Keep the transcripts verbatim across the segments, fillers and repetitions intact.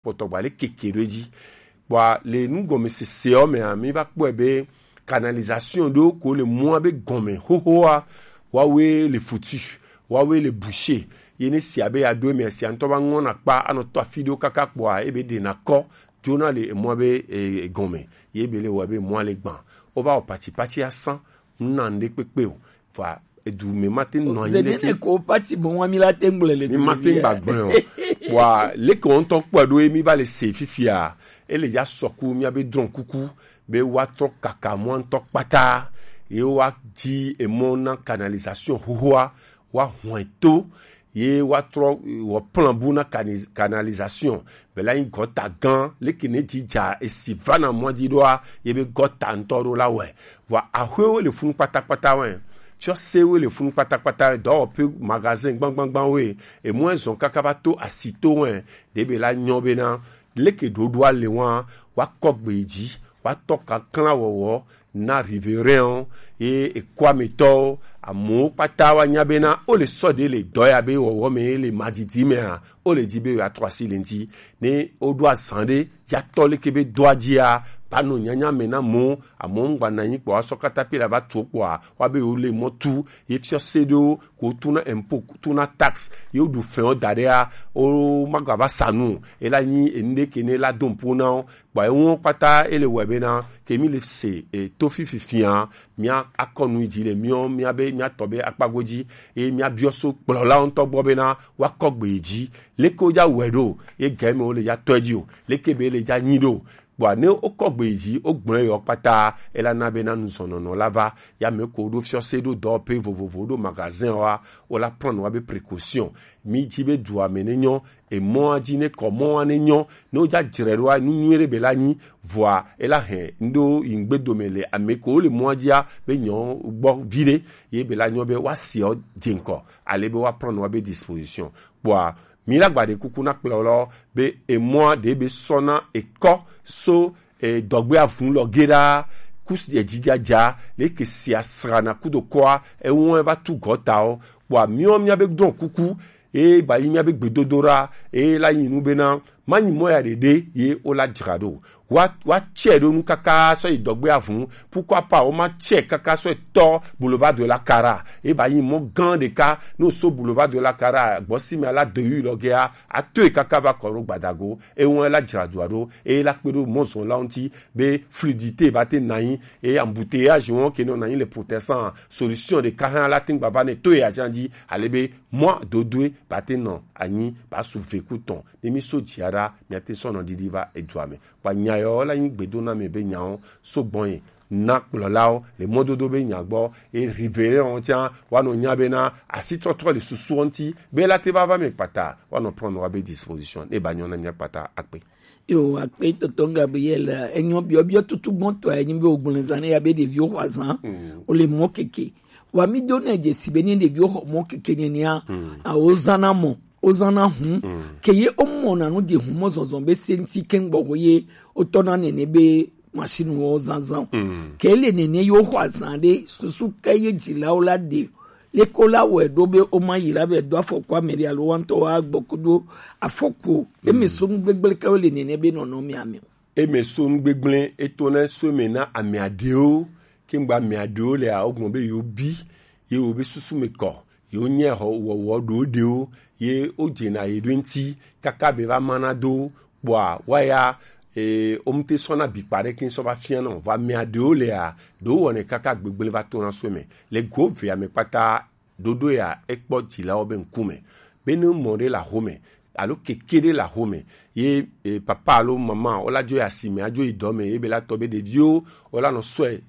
kpɔtɔ gba le keke ɖo edzi. Bua le nugɔmesese ɔ mea, mi va kpɔe be canalisation ɖo ko le mɔa be gɔme xoxoa, wawe le futu, wawe le bouché. Ye ne sia be ya ɖo emea, sia ŋutɔ va ŋɔna kpa anɔ tɔ afi ɖewo kaka kpɔa, ebe ɖena kɔ dzona le emɔa be e, e, gɔme. Ye be le wɔ be mɔa le gbã. Wova wɔ patipati asan, ŋna ŋɖe kpekpe o. Vɔa edu me ma te nɔ anyi ɖeke. Zenene ko pati bɔ wa mi la te ŋgble le mi ma te ŋgba gblẽ o. Wa leke wo ŋutɔ kpɔe ɖo ye mi va le se fifia, ele ya sɔku mia be drɔn kuku be wa trɔ kaka mɔa ŋutɔ kpata, ye wa di emɔ na canalisation xoxoa, wa hɔn to, ye wa trɔ wɔ plan bu na cani-, canalisation. Bela nyi gɔta gã, leke ne dzi dza esi va na mɔa dzi ɖoa, ye be gɔta ŋutɔ ɖo la wɛ. Vɔa axwewo le funu kpatakpata wɛ. Fiɔsewo le funu kpatakpata wɛ. Dɔwɔƒe, magasin gbangbangban wɛ. Emɔe zɔn kaka va to asi to wɛ. Ɖe be la nyɔ bena leke ɖoɖoa le wa, wa kɔ gbe yi dzi, wa tɔ kanklan wɔwɔ na riverain ye ekuametɔwo, amewo kpata wa nya bena wo le sɔ ɖe le dɔ ya be wɔwɔ me ye le madidi mea, wo le di be yewoatrɔ asi le ŋuti. Ne woɖo azã ɖe ya tɔ leke be dɔa dzia, ba nɔ nyanya me na amewo, amewo ŋgba na anyi kpɔ, wa sɔ katapila va tu kpɔa, wa be yewo le mɔ tu, ye fiɔse ɖewo ko tuna impôt, tuna taxe, ye woɖu fɛn wo da ɖea, wo magava sa nu, ela nyi enu ɖe ke ne la do ŋpo na wo, kpɔ ewo kpata ele wɔe bena, ke mi le se, e, to fifi fia, mia akɔ nu yi dzi le miɔ, mia be, mia tɔ be akpa godzi, eye mia biɔ so kplɔlawo ŋutɔ gbɔ bena, woakɔ gbe yi dzi, leke wo dza wɔe ɖo, ye gɛ me wo le dza tɔe dzi o, leke be le dza nyi ɖo, kpɔa ne wokɔ gbe yi dzi, wogblɔe yɔ kpata, ela na bena nuzɔnɔnɔ la va, ya me ko ɖo fiɔse ɖo dɔwɔƒe vovovo ɖo magasin wa, wo la prendre wa be précaution, mi dzi be dua me ne nyɔ, emɔa dzi ne kɔ mɔa ne nyɔ, ne wodza dzre ɖoa, nu nyui ɖe be la nyi, vɔa ela hɛn ŋɖo yi ŋgbe dome le ame ko le mɔa dzia be nyɔ gbɔ vi ɖe, ye be la nyɔ be woasi ɔ dze ŋkɔ, ale be woa prendre wa be disposition. Kpɔa, mi la gba ɖe kuku na kplɔ lɔ be emɔa ɖe be sɔ na ekɔ so e, dɔgbe avun lɔ ge ɖa, kus e, dzidza dza, le ke si asra na kudo kɔa, ewɔn va tu gɔtawo, kpɔa miɔ mia be dɔn kuku, e, ba yi mia be gbedodo ɖa, e, la yi nu bena, ma nyi mɔ ya ɖeɖe, ye wo la dzra ɖo. Wa, wa tsɛ ɖo nu kaka sɔ yi dɔgbe avun, pourquoi pas wo ma tsɛ kaka sɔ yi tɔ boulevard de la Cara, e, ba yi mɔ gã ɖeka, no so boulevard de la Cara, gbɔ si me la de yu lɔ gea, a to yi kaka va kɔ ɖo gbadago, ewɔn la dzra dua ɖo, e la kpe ɖo mɔzɔnlawo ŋuti, be fluidité ba te na anyi, e embouteillage wɔn ke nɔ na anyi le protestant, solution ɖeka hã la te ŋgba va ne to ya dzi, ale be mɔ dodoe ba te nɔ anyi, ba su ve ku tɔn, ne mi so dzia ɖa, mia te sɔ nɔ ɖiɖi va edua me. Kpa nya yɔ la nyi gbedo na mi be nyawo so gbɔn ye na kplɔlawo le mɔdodo be nya gbɔ, e rive ɖe wɔn tsã, wa nɔ nya bena asitɔtrɔ le susu ŋuti, be la te va va mi kpata, wa nɔ prendre wa be disposition, ne ba nyɔ na mia kpata akpe. Yo, akpe tonton Gabriel, enyo biɔbiɔ tutu gbɔntɔ enyi be ogblezan ne ya be ɖeviwo xɔ azan, o le mɔ keke. Wa mi do ne dze si be ne ɖeviwo xɔ mɔ keke nenia, a o zana mɔ, o zana hun. Ke ye o mɔ na nu dze hun mɔ zɔzɔ be se ŋuti ke ŋgbɔ ye o tɔ na nene be machine wo zanzan. Ke le nene yo xɔ azan ɖe susu ke ye dzilawo la ɖe. Leke wo la wɔe ɖo be wo ma yi la be do afɔku ame ɖe alo wa ŋutɔ wa gbɔ kudo afɔku o. Eme so nu gbegble ke wo le nene be nɔnɔ mi ame o. Eme so nu gbegble eto na so eme na ame aɖewo, ke ŋgba ame aɖewo le a, wo gbɔn be yewo bi, ye wo be susu me kɔ, yewo nye xɔ wɔwɔ ɖo ɖewo, ye wo dze na ye ɖo ŋuti, kaka be va ma na do kpɔa, wa ya, e, wo ŋute sɔ na bi kpa ɖe ke sɔ va fia nɔ. Vɔ ame aɖewo lea, ɖewo wɔnɛ kaka gbegble va to na so eme. Le go ve ame kpata ɖoɖo ya ekpɔ dzilawo be ŋkume. Be ne mɔ ɖe le axome, alo keke ɖe le axome, ye, e, papa alo mama, wo la dzo yi asime, adzo yi dɔ me, ye be la tɔ be ɖeviwo, wo la nɔ sɔe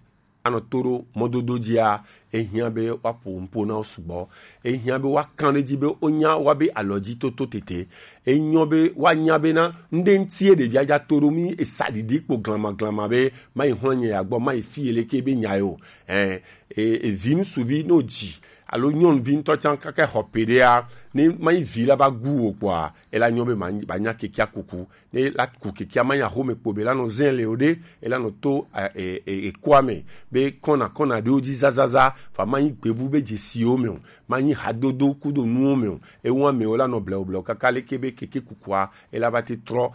anɔ to ɖo mɔdodo dzia, ehiã be woaƒo nuƒo na wo sugbɔ. Ehiã be woakan ɖe edzi be wonya woabe alɔdzitoto tete. Enyɔ be woanya bena ŋɖe ŋutie ɖevia dza to ɖo, mi esa ɖiɖi kpo glamaglama be mayi xlɔ̃ nye ya gbɔ, mayi fi ye leke be nya ye o. Ɛ, e, evi ŋutsuvi ne wodzi, alo nyɔnuvi ŋutɔ tsã kaka xɔ pe ɖea, ne manyi vi la va gu o kpɔa, ela nyɔ be ma- ba nya kekea kuku. Ne la ku kekea manyi axome kpo be la nɔ zɛ le o ɖe, ela nɔ to e- e- e- ekoa me be kɔna kɔna ɖewo dzi zazaza, fa manyi gbevu be dzesiwo me o, manyi hadodo kudo nuwo me o. Ewa me o la nɔ blewo blewo kaka leke be keke kukua ela va te trɔ